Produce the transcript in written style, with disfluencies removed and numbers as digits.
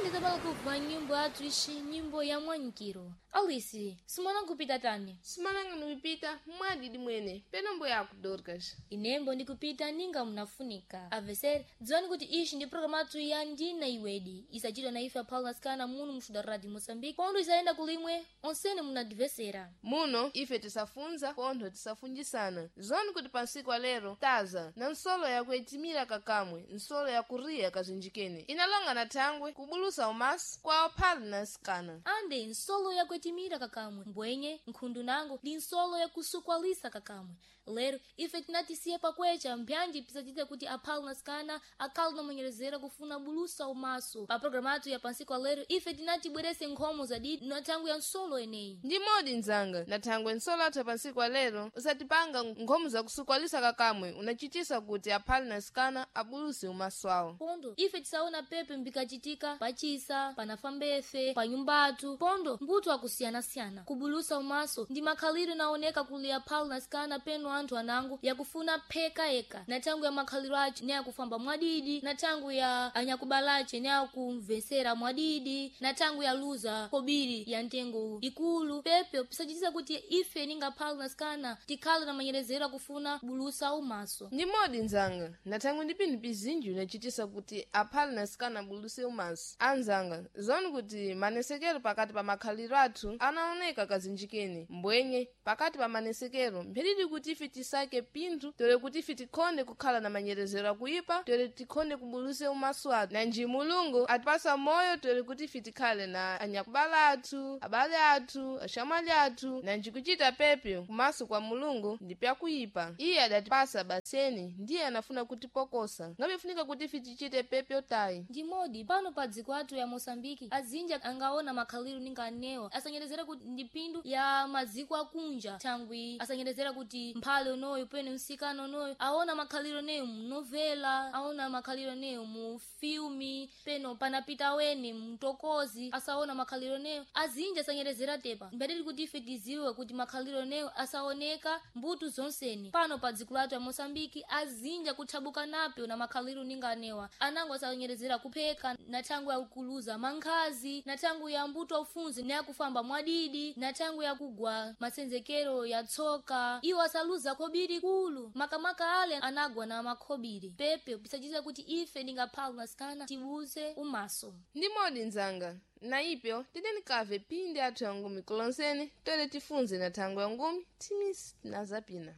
Ande tabala kubva nyimbo yathu ishi nyimbo ya mwanyikiro. Alisi, simona nkupita tani? Simananga nupita mwadidi mwene penombo yako Dorcas. Inembo ndikupita ninga munafunika. Avesere, dziwani kuti ishi ndi programu athu ya ndina iwedi. Isachitwa na ife aphala nasikana munu muxuda radio Moçambique. Pondo isayenda kulimwe, onsene munadivesera. Muno ife tisafunza pontho tisafunjisana zoni kuti pansiku alero taza na nsolo yakuetimira kakamwe nsolo yakuriya kazinjikene inalonga na thangwe kubulusa umaso kwa ophali na nsikana. Ande nsolo yakuetimira kakamwe, mbwenye nkhundu nango ndi nsolo yakusukwalisa kakamwe. Lero ife tinatisiye pakwecha mbyanji pisachite kuti aphala nasikana akhale namwenyerezera kufuna bulusa umaso. Pa programu athu ya pansiku alero ife tinatibwerese nkhomo zadidi na thangwe ya nsolo eneyi. Ndi modi nzanga na thangwe nsolo athu pansiku alero usatipanga nkhomo zakusukwalisa kakamwe unachitisa kuti aphali na nsikana abuluse umaso awo. Pondo ife tisaona pepe mbikachitika pachisa panafambefe panyumbatu pondo mbuto akusiyana-siyana kubulusa umaso ndi makhaliro naoneka kuli aphalu nasikana peno anthu anango yakufuna pheka eka na thangu ya makhaliro ace ne akufamba mwadidi na thangu ya anyakubalace ne akumvesera mwadidi na thangu ya luza kobiri ya ntengo ikulu pepe pisachitisa kuti ife ninga phalu nasikana tikhale na manyerezero akufuna bulusa umaso. Ndi modi nzanga na thangwe ndi pinthu pizinji unachitisa kuti aphali na nsikana abuluse umaso. Anzanga zoni kuti manesekero pakati pa makhaliro athu anaoneka kazinjikeni mbwenye pakati pa manesekero mphiridi kuti ife tisake pinthu tole kuti ife tikhonde kukhala na manyerezero akuipa tole tikhonde kubuluse umaso athu nanji mulungu atipasa moyo tole kuti ife tikhale na anyakubala athu abale athu axamwali athu nanji kuchita pepyo kumaso kwa mulungu ndi pyakuipa. Iye adatipasa baseni ndiye anafuna kutipokosa ngabefunika kuti ife tichite pepyo tayi. Ndimodi pano pa dziko athu ya Moçambike azinja angaona makhaliro ninga anewa asanyerezera kuti ndi phindu ya maziko akunja thangwi asanyerezera kuti mphale unoyu pene msikana unoyu aona makhaliro neyo munovela aona makhaliro neyo mu filmi peno panapita weni mtokozi asaona makhaliro neyo azinja asanyerezera tepa mbadili kuti ife tiziwe kuti makhaliro neyo asaoneka mbutu zonseni pano pa dziko lathu ya Moçambike azinja kuthabuka napyo na makhaliro ninga anewa anango asanyerezera kupheka na thangwi yakuluza mankhazi na thangwi ya mbuto aufunzi ne akufamba mwadidi na thangwi yakugwa masenzekero ya tsoka iwo asaluza khobiri kulu makamaka ale anagwa na makhobiri pepe pisachita kuti ife ningaphala nasikana tibuze umaso. Ndi modi nzanga na ipyo tidenikave pindi athu ya ngumi kulonsene tole tifunze na thangwe ya ngumi timisi na zapina.